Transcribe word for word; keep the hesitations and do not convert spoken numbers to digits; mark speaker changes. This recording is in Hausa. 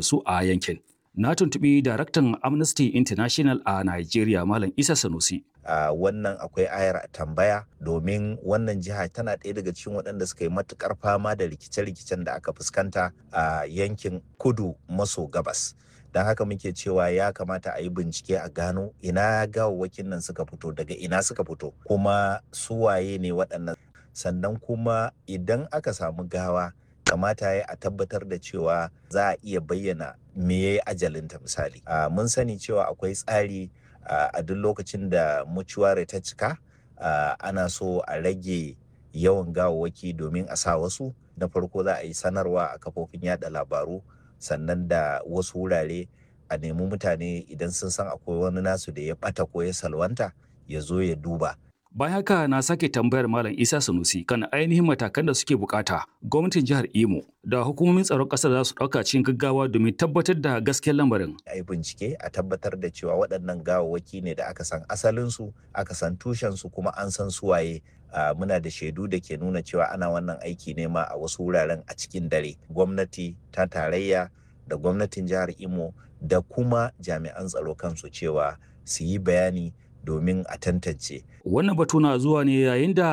Speaker 1: Su a yankin. Na tuntuɓi daraktan Amnesty International a Nigeria, Malam Isa Sanusi.
Speaker 2: A wannan akwai ayar tambaya, domin wannan jiha tana ɗaya daga cikin waɗanda suka yi matuƙar fama da rikice-rikicen da aka fuskanta a yankin kudu maso gabas. Don haka muke cewa ya kamata a yi bincike a gano ina gawawwakin nan suka fito, daga ina suka fito, kuma su waye ne waɗannan. Sannan kuma idan aka samu gawa, kamata ya a tabbatar da cewa za a iya bayyana me ya yi ajalinta. Misali, mun sani cewa akwai tsari a duk lokacin da mucuware ta cika, ana so a rage yawan gawawwaki domin a sa wasu. Na farko za a yi sanarwa a kafofin yada labaru, sannan da wasu wurare, a nemi mutane idan sun san akwai wani nasu da ya bata ko ya salwanta, ya zo ya duba.
Speaker 1: Bayan haka na sake tambayar Malam Isa Sanusi kan ainihin matakan da suke bukata gwamnatin jihar Imo da hukumomin tsaron ƙasar za su ɗauka cikin gaggawa domin tabbatar da gaskiyar lamarin.
Speaker 2: A yi bincike a tabbatar da cewa waɗannan gawawwaki ne da aka san asalinsu, aka san tushensu, kuma an san suwaye. Muna da shaidu da ke nuna cewa ana wannan aiki ne ma a wasu wuraren a cikin dare. Gwamnati ta tarayya da gwamnatin jihar Imo da kuma jami'an tsaro kansu cewa su yi bayani domin a tantance.
Speaker 1: Wannan batu na zuwa ne yayin da